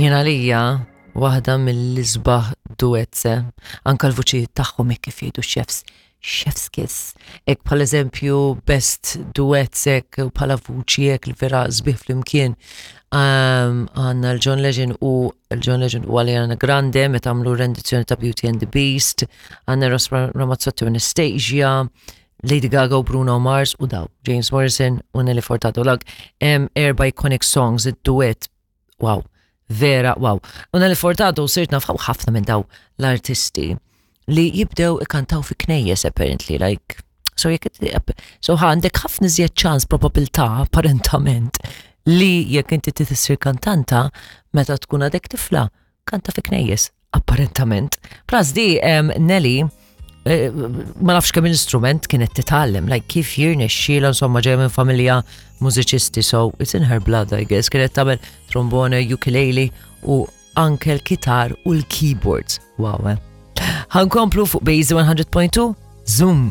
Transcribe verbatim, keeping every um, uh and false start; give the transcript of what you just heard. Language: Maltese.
Jien għalija waħda mill-isbaħ duets, eh, anka l-vuċi tagħhom hekk kif jgħidu chefs, chef's kiss. Hekk bħal eżempju best duets hekk u bħala vuċi hekk li vera sbieħ flimkien. Um, Għandna l-John Legend u l-John Legend u Ariana Grande meta għamlu rendizzjoni ta' Beauty and the Beast, għandna Eros Ramazzotti u Anastasia, Lady Gaga u Bruno Mars u daw, James Morrison u Nelly Furtado lag, em, erba iconic songs, id-duet, wow, vera, wow. U Nelly Furtado sirt naf ħafna minn daw l-artisti li jibdew ikantaw fi knejjes apparently, like, so jekk so għandek ħafna iżjed ċans probabilità apparentament li jekk inti tissir kantanta meta tkun għadek tifla, kanta fi knejjes, apparentament. Plus di um, Nelly, eh, ma nafx kemm instrument kienet titgħallem, like kif jirnexxiela insomma ġejja minn familja mużiċisti, so it's in her blood, I guess. Kienet tagħmel trombone, ukulele u anke l-kitar u l-keyboards. Wow, eh. Ħa nkomplu fuq Base one hundred point two, Zoom.